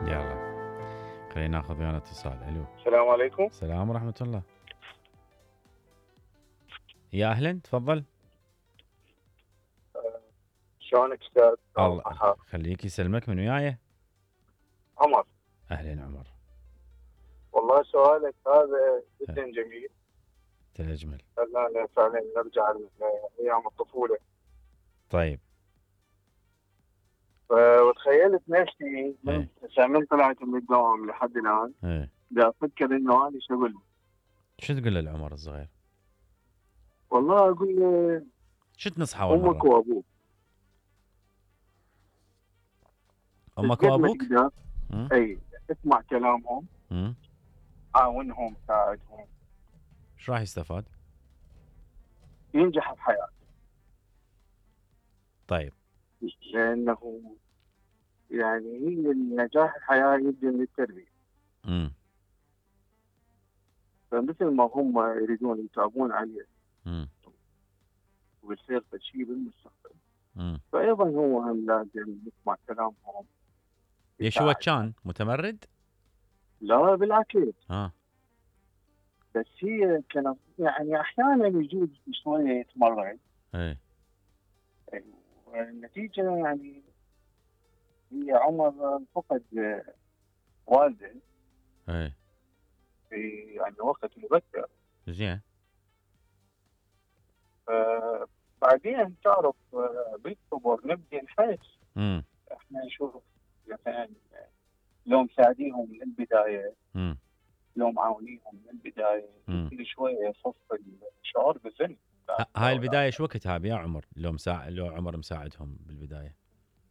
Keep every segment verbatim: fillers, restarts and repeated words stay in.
يلا خلينا ناخذ ويانا اتصال. الو السلام عليكم. السلام ورحمة الله. يا اهلا تفضل. شلونك استاذ؟ الله خليك يسلمك. من وياي؟ عمر. اهلا عمر. والله سؤالك هذا جدا جميل. تجمل. خلانا فعلا نرجع لايام الطفوله. طيب. وتخيلت نفسي من من طلعت من الدوام لحد الان ايه بدي افكر انه انا شو اقول له. شو تقول له العمر الصغير؟ والله اقول له شو تنصحه اول امك وابوك. امك وابوك؟ اي اسمع كلامهم. امم عاونهم ساعدهم. ايش راح يستفاد؟ ينجح بحياته. طيب. لانه يعني هي النجاح الحياه يبدأ من التربيه. امم فمثل ما هم يريدون يتعبون عليه امم ويصير شيء بالمستقبل. امم فايضا هو هم لازم يسمع كلامهم. ليش هو كان متمرد؟ لا بالعكس. اه بس هي كانت يعني احيانا يجوز شويه يتمرد. ايه والنتيجه يعني هي عمر فقد والده. ايه في يعني وقت مبكر. زين. بعدين تعرف بالكبر نبدأ نحس. امم احنا نشوف مثلا لو مساعديهم من البدايه. امم لو معاونيهم من البدايه كل شويه يخف الشعور بالذنب. هاي البدايه شو وقتها يا عمر؟ لو مساعد لو عمر مساعدهم بالبدايه.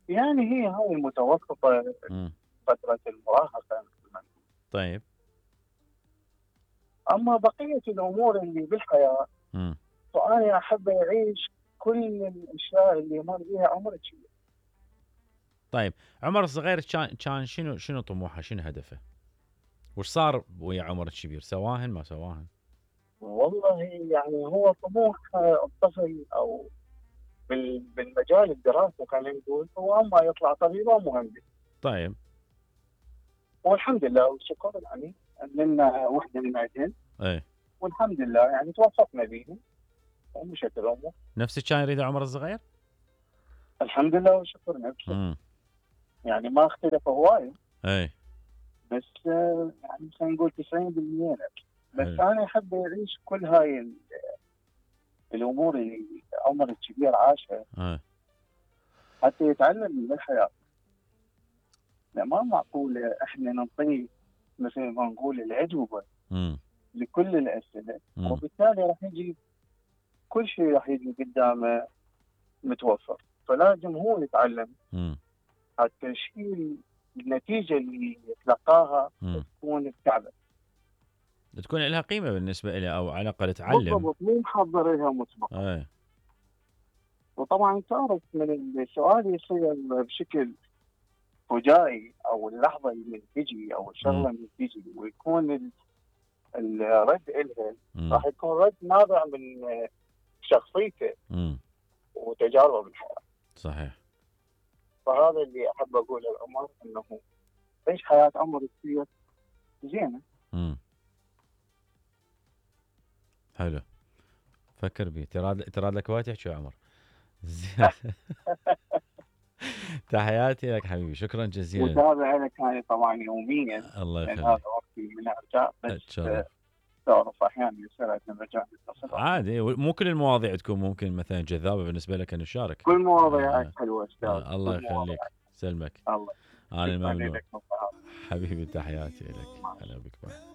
يعني هي هاي المتوسطه. امم فتره المراهقه. طيب. اما بقيه الامور اللي بالحياه امم فانا احب اعيش كل الاشياء اللي مر بيها عمر كبير. طيب عمر الصغير كان كان شنو شنو طموحه؟ شنو هدفه؟ وش صار ويا عمر الكبير؟ سواهن ما سواهن؟ والله يعني هو طموح الطفل او بالمجال الدراسي خلينا نقول هو اما يطلع طبيب او مهندس. طيب. والحمد لله والشكر يعني لنا وحده من عندهم. ايه والحمد لله يعني توفقنا بيهم ومشت الامور. نفس كان يريد عمر الصغير؟ الحمد لله والشكر نفسه. امم يعني ما اختلف هوايه. ايه بس يعني خلينا نقول تسعين بالمئة لك. بس حلو. انا احب اعيش كل هاي الامور اللي عمر الكبير عاشها. ايه حتى يتعلم من الحياه. لا ما معقول احنا نعطيه مثل ما نقول الاجوبه امم لكل الاسئله. مم. وبالتالي راح يجي كل شيء راح يجي قدامه متوفر. فلازم هو يتعلم امم حتى الشيء النتيجه اللي يتلقاها مم. تكون بتعبه. تكون لها قيمه بالنسبه له او على الاقل تعلم. بالضبط مو محضر لها مسبقا. ايه وطبعا تعرف من السؤال يصير بشكل فجائي او اللحظه اللي تجي او الشغله اللي تجي ويكون الرد إلها راح يكون رد نابع من شخصيته امم وتجاربه بالحياه. صحيح. فهذا اللي احب اقوله لعمر انه عيش حياه عمر كثير زينه. امم حلو. فكر بيه. ترى ترى لك وايد تحكي يا عمر. زين. تحياتي لك حبيبي. شكرا جزيلا. وتابع لك هاي طبعا يوميا. الله يخليك. هذا وقتي من ارجع بس تعرف احيانا يصير عندنا مجال نتصل. عادي مو كل المواضيع تكون ممكن مثلا جذابه بالنسبه لك ان نشارك. كل مواضيعك حلوه استاذ. آه الله يخليك. سلمك. الله انا الممنون لك. حبيبي. تحياتي لك. هلا بك.